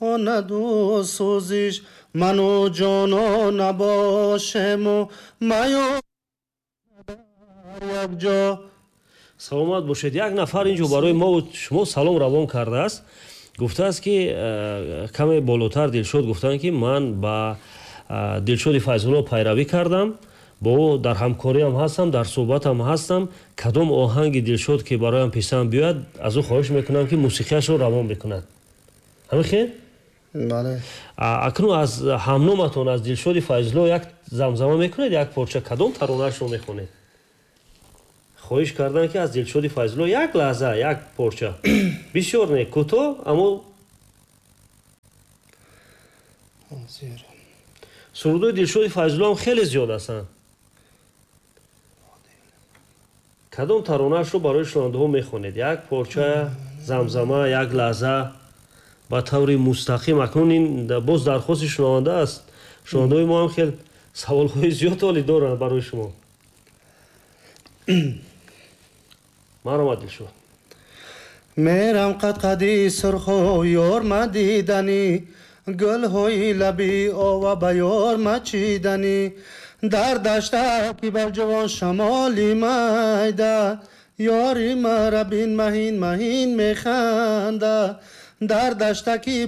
Онаду сӯзиш ману ҷоно набошему маю якҷо. Саломат бошед. Як нафар инҷо барои мо шумо салом равон кардааст, гуфтааст, ки каме болотар Дилшод гуфтанд, ки ман ба Дилшоди Файзулло пайравӣ кардам, бо ӯ дар ҳамкориам ҳастам, дар суҳбатам ҳастам. Кадом оҳанги Дилшод, ки бароям писанд биёяд, аз ӯ хоҳиш мекунам, ки мусиқияшро равон бикунад. Ҳамин хел? Бале. Акнун аз ҳамноматон, аз Дилшоди Файзулло як замзама мекунед, як порча, кадом таронаашро мехонед? Хоҳиш карданд, ки аз Дилшоди Файзулло як лаҳза як порча, бисёр не, кӯтоҳ, аммо сурудои Дилшоди Файзуллоам хеле зиёд ҳастанд. Кадом таронаашро барои шунавандаҳо мехонед? Як порча замзама, як лаҳза, ба таври мустақим. Акнун ин боз дархости шунаванда аст. Шунавандаҳои мо ҳам хел саволҳои зиёд ҳолӣ доранд барои шумо. Марҳамат, Дилшод. Мерам қадқади сурху ёр мадиданӣ, гулҳои лаби ова ба ёр мачиданӣ, дар дашта ки бар ҷавон шамоли майда, ёри мара бин маҳин маҳин механда, дар дашта ки